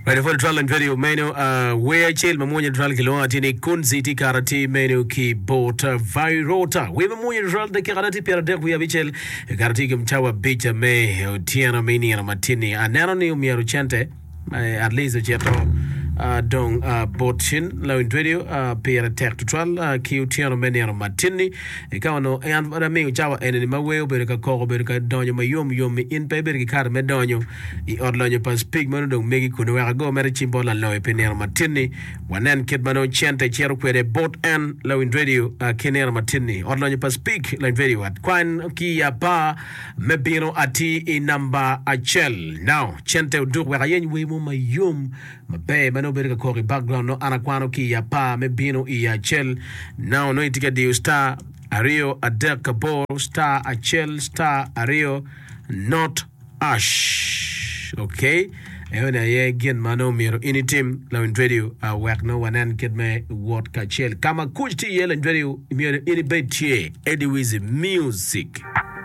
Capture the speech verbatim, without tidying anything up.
Radio Pwod Twal and Radio meno uh, wer acel ma mwonya twal kilwongo atir ni Kunzi tye kara tye meno ki bot uh, Vairota. Wer ma mwonya twal dakika na tye pyeradek wiye abicel kara tye i cawa abic me otyeno me nino matin-ni. Aneno ni omyero cente eh, at least ocito uh, dong uh, bot cin lawiny radio uh, pire tek tutwal uh, ki otyeno me nino matin-ni. Ka onongo en pud amiyo cawa eni ma wer obedo ka koko obedo ka donyo mayom yom in pe ibedo ki kare me donyo i ot lonyo pa Speke meno dong megi kunu wek ago mere cim bot laloyo pi nino matin-ni wanen kit ma nongo cente cito kwede bot en lawiny radio uh, ki nino matin-ni ot lonyo pa Speke lawiny radio kwan ki i apar me bino atir i namba acel now cente oduk wek ayeny wer mo mayom maber ma nongo bedo ka koko i background no an akwano ki i apar me bino i acel now nongo itye ka diyo star aryo adek aboro star acel star aryo not hash okay eno aye gin ma nongo myero in itim lawiny radio uh, wek nongo wanen kit me wot kacel ka ma kuc tye iye lawiny radio myero in ibed tye Eddie Weezy music.